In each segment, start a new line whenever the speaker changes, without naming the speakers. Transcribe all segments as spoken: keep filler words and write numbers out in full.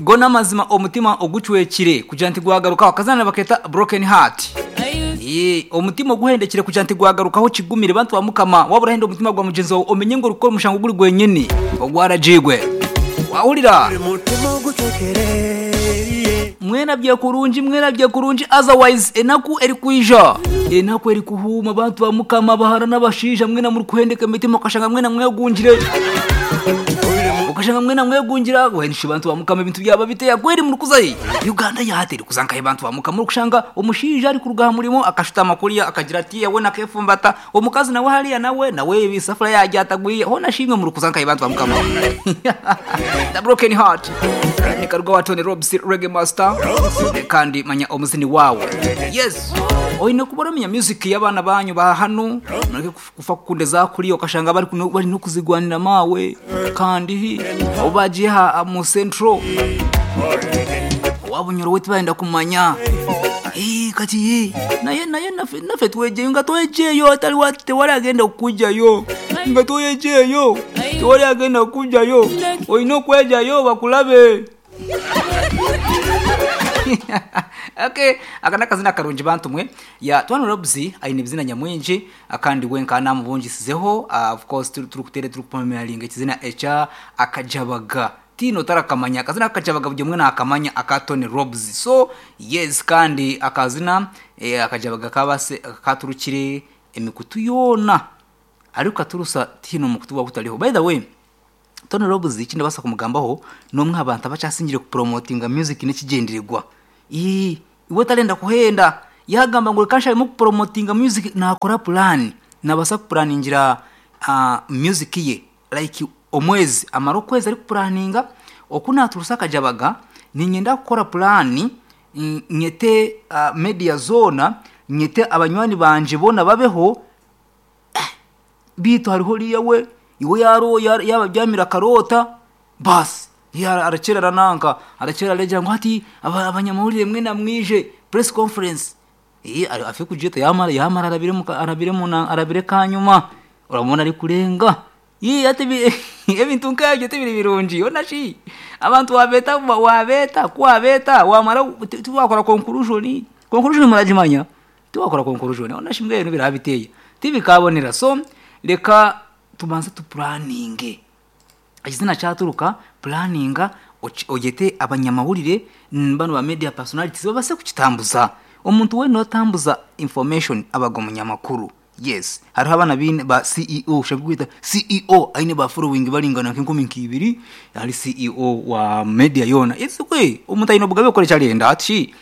Gona amazima omutima ogucwekire kugira nti gwagarukaho akazana baketa broken heart. Ye omutima oguhendekire kugira nti gwagarukaho kigumire bantu ba mukama wabura henda omutima gwa mugenzi wawe omenye ngo rukora omushango guri gwenyini ogwarajigwe wahurira
Mutima ogucwekere
mwerabye kurungi mwerabye kurungi otherwise enaku eri kwija enaku eri kuhuma abantu ba mukama bahara n'abashaija mwena muri kuhendeka emitima ukashanga mwena mwegungire ukashanga mwena mwegungira wenisha abantu ba mukama ebintu byaba biteya kweri muri kuzayi Uganda yahateri kuzankaye abantu ba mukama kushanga omushaija ari kuruga aha murimo akashutama kuriya akagira ati yawe nakefumbata omukazi nawe hariya nawe nawe ibisafuriya yajya atagwiye ho nashimwe muri kuzankaye abantu ba mukama. The broken heart ni karuga wa Tony Robs Reggae Master kandi manya omuzini wawe. Yes, oine kubora menya music y'abana banyu ba hano mureke kufa kukundeza kuri ukashanga bari kuno bari no kuzigwanira mawe kandi abo bagiye ha mu central wabunyoro wetu baenda kumanya eh kati naye naye nafe nafe twejeyo nga twejeyo atali wate wali agenda okujayo nga twejeyo tewali agenda okujayo olina okwejayo bakulabe. Okay, aka nakazina karungi bantu mwe ya Tony Robs aine bizina nyamwingi akandi wenka namubungisizeho. uh, of course turi kutere turi kupamiralinga ekizina echa akajabaga tino tarakamanya akazina akajabaga buri mwe nakamanya aka Tony Robs. So yes, kandi akazina eh, akajabaga kabase katurukire emikutu yona ariko aturusa tino mukutu wa butariho. By the way, Tony Robs ikindi basa kumugambaho nomwe abantu abacasingire kupromotinga music nekigendererwa. Ii iwe talenda kuhenda yagamba ngo kansha mu kupromotinga music nakora plan nabasa kuplaningira uh, music ye like omwezi amara okwezi ari kuplaninga okuna turusa kajabaga ninyenda gukora plan nyete uh, media zona nyete abanywani banje bona babeho bitu hariho riya we iwe yaro yaba byamira karota basi ya arakera rananka arakera arejera ngo ati abanyamahurire mwe namwije press conference eh afi kujeta yamara yamara arabire mu arabire mu arabire kanyuma uramubona ari kurenga yi ati ebintu nkabyo tibiri birungi onashi abantu wabeta wabeta kwabeta wamara tuwakora conclusion conclusion murajimanya tuwakora conclusion onashi mbwe ibintu birabiteye tibikabonera. So reka tubanza tuplaninge izina cyaturuka planinga ogete abanyamahurire bano ba media personalities babase kukitambuza omuntu we notambuza information abago munyamakuru. Yes, hariho abana bine ba C E O ushobora kwita C E O aine ba following balingana nk'inkumi nkibiri ari C E O wa media yona isukwe omuntu aine obugabe okore cyarenda ati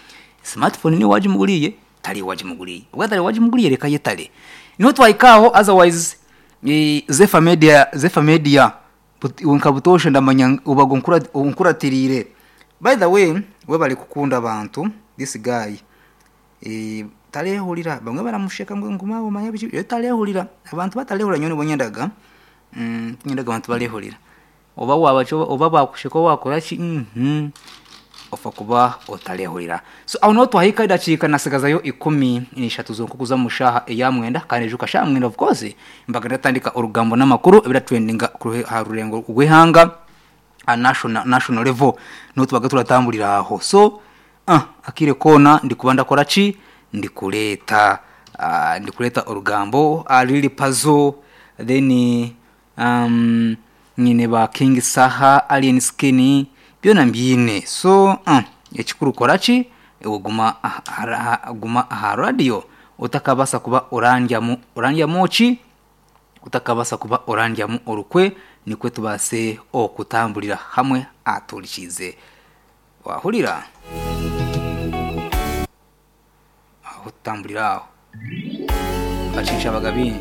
smartphone ni waje muguriye tari waje muguriye ubwo tari waje muguriye reka yetare niho twayikaho. Otherwise e, Zefa Media Zefa Media unkabutoshe ndamanya ubago nkura unkuratirire. By the way, we bari kukunda abantu this guy eh tarehurira bamwe baramusheka ngo nguma umanya biki yo tarehurira abantu batarehurira nyone bonyendaga mm nyendaga abantu barehurira oba wabacho oba bakusheka wakora ki mhm ofa kuba otarehurira. So aho no twahika idacika nasigazayo ikumi n'eshatu zonkukuza mushaha eya mwenda kandi ejo kasha mwenda of course mbaga ndatandika urugambo n'amakuru ebira trendinga ha rurengo rw'ihanga a national national level no tubaga turatambulira aho. So ah akire kona ndikuba ndakora ki ndikuleta uh, ndikuleta urugambo alili puzzle then um nyine ba King Saha Alien Skin byona mbyine. So uh, ekikuru korachi oguma guma aha radio utakabasa kuba orandyamu orandya mochi utakabasa kuba orandyamu orukwe nikwe tubase okutambulira hamwe atulikize wahurira aho tutambulira aho bacisha abagabingi.